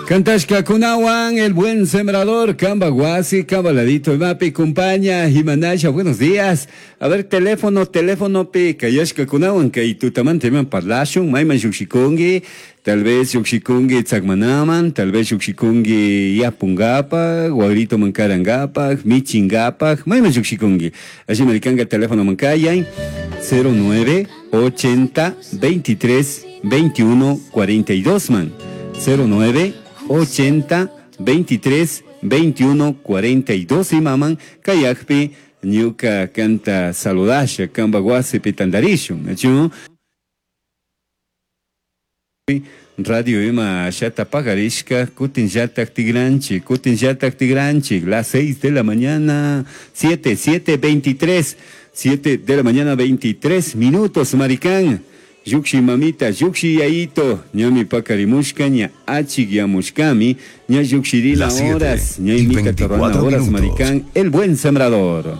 Cantashkakunawan, el buen sembrador, Kamba Guasi, Kamba Ladito, Mapi, compaña, Jimanasha, buenos días. A ver, teléfono, teléfono, pi, kayashkakunawan, kay tutamanta iman parlashun, mayman llukshikunki, tal vez llukshikunki tzakmanaman, tal vez llukshikunki yapungapaj, wagrito mankarankapaj, michinkapaj, mayman llukshikunki. Allí maricanga teléfono mankayay, 09 80 23 21 42 man. 09 80 23 21 42 imaman kayakpi ñuka kanta saludasha kamba wasipi tandarishun nachu Radio ima shata pagarishka kutin llatak tigranchik kutin llatak tigranchik las 6 de la mañana 7 7 23 7 de la mañana 23 minutos maricán Lluqshi mamita, lluqshi yayito, ñami pakarimushka, ña achikyamushkami, ña lluqshirina Las siete horas, ña y imita 24 torrana horas, minutos. maricán, el buen sembrador.